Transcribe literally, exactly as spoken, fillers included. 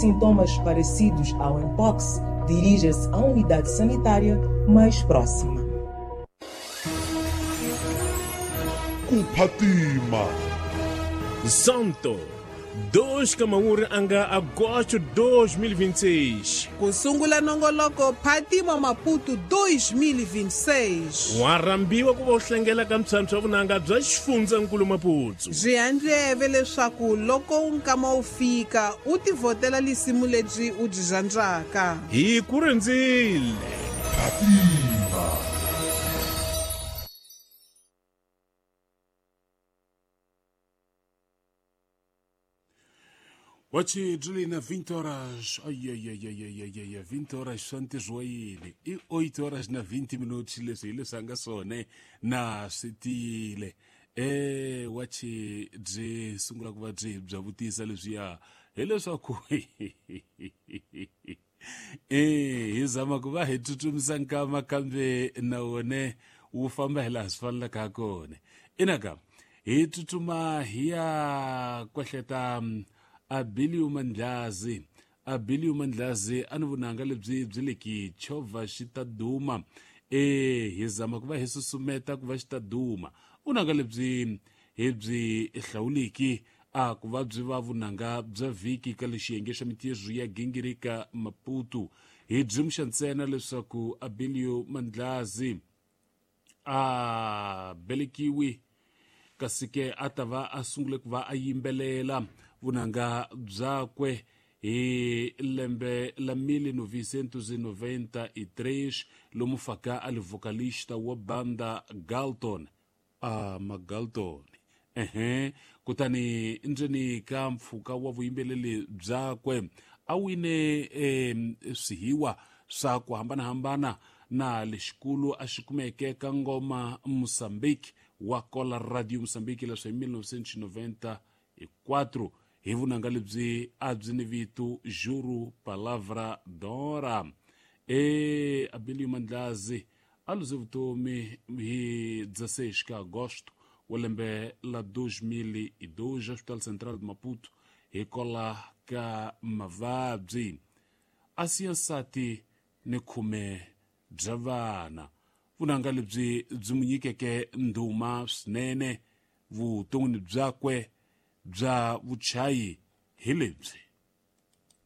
Sintomas parecidos ao mpox, dirija-se à unidade sanitária mais próxima. Kuphatima Santo dois Kamaura anga agosto dois mil e vinte e seis. Kusungula nongoloko Phatima Maputo dois mil e vinte e seis. Warambiwa ku va hlengela ka mtshantshwa vunanga bya xifundzankulu Maputo. Byi handleve leswaku loko nkama wu fika u tivhotela lisimu lebyi u byi rhandzaka. Hi ku rindzile. Phatima. Wachi Julina, vinte horas, ai, ai, ai, ai, ai, ai, ai, vinte horas santizoile, e oito horas na vinte minutos, leswi leswi nga swona na switile. Eh, wachi byi sungula ku va byi bya vutisa leswiya hileswaku eh hi zama ku va hi tsutsumisa nkama kambe na wona wu famba hi laha swi fanelaka ha kona. Inaka hi tsutsuma hi ya kwehleta Abilio Mandlazi. Abilio Mandlazi a ni vunanga lebyi byi le ki chovha xi ta duma. Eh hi zama ku va hi susumeta ku va xi ta duma. Vunanga lebyi hi byi hlawuliki a ku va byi va vunanga bya vhiki ka lexiyenge xa mintirho ya gingirika Maputo. Hi byi muxa ntsena leswaku Abilio Mandlazi a velekiwi kasi ke a ta va a sungule ku va a yimbelela vunanga byakwe hi lembe la mil novecentos e noventa e três lomu faka a li vocalista wa banda Galton. A Magalton ehe kutani ndzeni ka mpfhuka wa vuyimbeleri byakwe a wine eh, swihiwa swa ku hambanahambana na lexikulu a xi kumeke ka ngoma Mozambique wa kola Radio Mozambique leswi hi mil novecentos e noventa e quatro hi vunanga lebyi a byi ni vito Juro Palavra Dora. E Abilio Mandlazi a luze vutomi hi dezesseis ka agosto wa lembe la dois mil e dois Hospital Central de Maputo hi kola ka mavabyi a siya nsati ni khume bya vana. Vunanga lebyi byi mu nyikeke ndhuma swinene vuton'wini byakwe bya vuchayi hi lebyi.